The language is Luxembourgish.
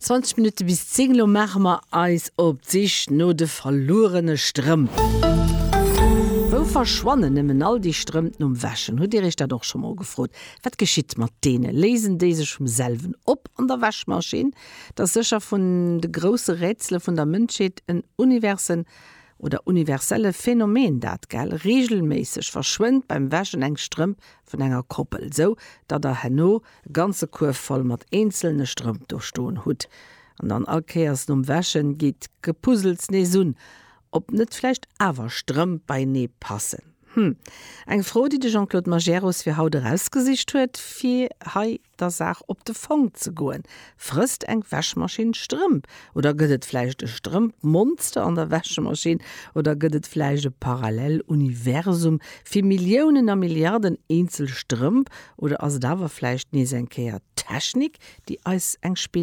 20 Minutte bis 10, Elo maache mer eis op d'Sich no de verluerene Strëmp. Wou verschwannen nëmmen all déi Strëmp nom Wäschen? Hutt Dir Iech dat och scho mol gefrot? Wat geschitt mat deene? Léisen déi sech vum selwen op an der Wäschmaschinn? Et ass sécher vun de grousse Rätsele vun der Mënschheet, en universen oder universelle Phänomen dat, gell? Reegelméisseg verschwënnt beim Wäschen eng Strëmp vun enger Koppel, sou datt der herno e ganze Kuerf voll mat eenzelne Strëmp do stoen hutt. An dann all Kéiers nom Wäschen geet d'Gepuzzels nees un, ob net vläicht awer Strëmp beienee passen. Hm, eng Fro, déi de Jean-Claude Majerus fir haut erausgesicht huet, fir hei der Saach op de Fong ze goen. Frësst eng Wäschmaschinn Strëmp? Oder gëtt et vläicht e Strëmpmonster an der Wäschmaschinn? Oder gëtt et vläicht e Paralleluniversum fir Milliounen a Milliarden eenzel Strëmp? Oder ass et awer vläicht nees eng Kéier d'Technik, déi eis eng Spill.